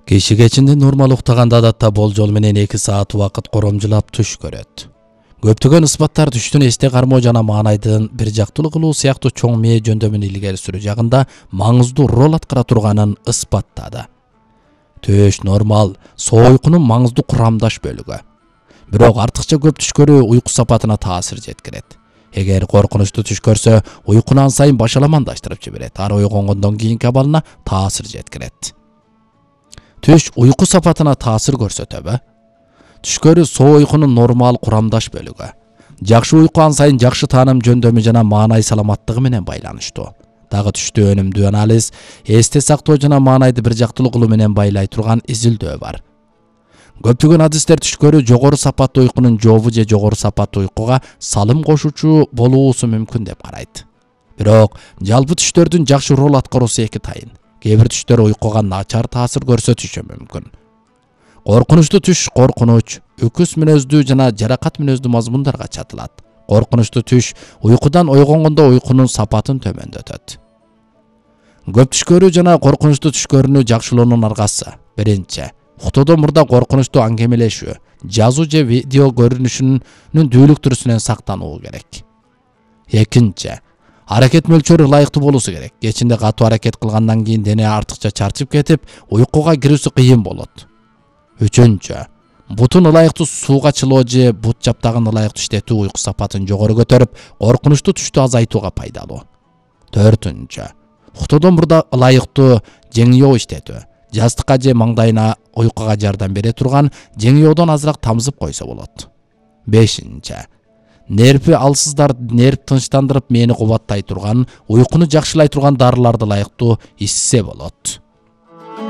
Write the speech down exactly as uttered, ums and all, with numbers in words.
Киши кечинде нормал уктаганда адатта болжол менен эки саат убакыт коромжулап түш көрөт. Көптөгөн ысбаттар түштүн эсте кармоо жана маанайдын бир жактылуу кылуу сыяктуу чоң мээ жөндөмүн илгери сүрүү жагында маңыздуу роль аткара турганын ысбаттады. Түш нормал соо уйкунун маңыздуу курамдаш бөлүгү. Бирок артыкча көп түш көрүү уйку сапатына таасир жеткирет. Эгер коркунучтуу түш көрсө, уйкуну ан сайын башаламандаштырып жиберет. Ар ойгонгондон кийинки абалына таасир жеткирет. Түш уйку сапатына таасир көрсөтөбү? Түш көрүү соо уйкунун нормал курамдаш бөлүгү. Жакшы уйку ан сайын жакшы тааным жөндөмү жана маанай саламаттыгы менен байланыштуу. Дагы түштү өнүмдүү анализ, эсте сактоо жана маанайды бир жактылуу кылуу менен байлай турган изилдөө бар. Көптөгөн адистер түш көрүү жогору сапаттуу уйкунун жообу же жогору сапаттуу уйкуга салым кошуучу болуусу мүмкүн деп карайт. Бирок жалпы түштөрдүн жакшы роль аткаруусу эки тайын. Кээ бир түштөр уйкуга начар таасир көрсөтүшү мүмкүн. Коркунучтуу түш коркунуч, үкүс мүнөздүү жана жаракат мүнөздүү мазмундарга чатылат. Коркунучтуу түш уйкудан ойгонгондо уйкунун сапатын төмөндөтөт. Көп түш көрүү жана коркунучтуу түш көрүүнү жакшылоонун аргасы. Биринчи, уктоодон мурда коркунучтуу аңгемелешүү, жазуу же видео көрүнүшүнүн дүүлүктүрүүсүнөн сактануу керек. Экинчи, аракет мөлчөрү ылайыктуу болуусу керек. Кечинде катуу аракет кылгандан кийин дене артыкча чарчып кетип, уйкуга кирүүсү кыйын болот. Үчүнчү, бутун ылайыктуу сууга чылоо же бут жаптагын ылайыктуу иштетүү уйку сапатын жогору көтөрүп, коркунучтуу түштү азайтууга пайдалуу. Төртүнчү, уктоодон мурда ылайыктуу жеңиөө иштетүү, жастыкка же маңдайына уйкуга жардам бере турган жеңиөөдөн азыраак тамызып койсо болот. Бешинчи, нерви алсыздар нерв тынчтандырып мээни кубаттай турган, уйкуну жакшылай турган дарыларды ылайыктуу ичсе болот.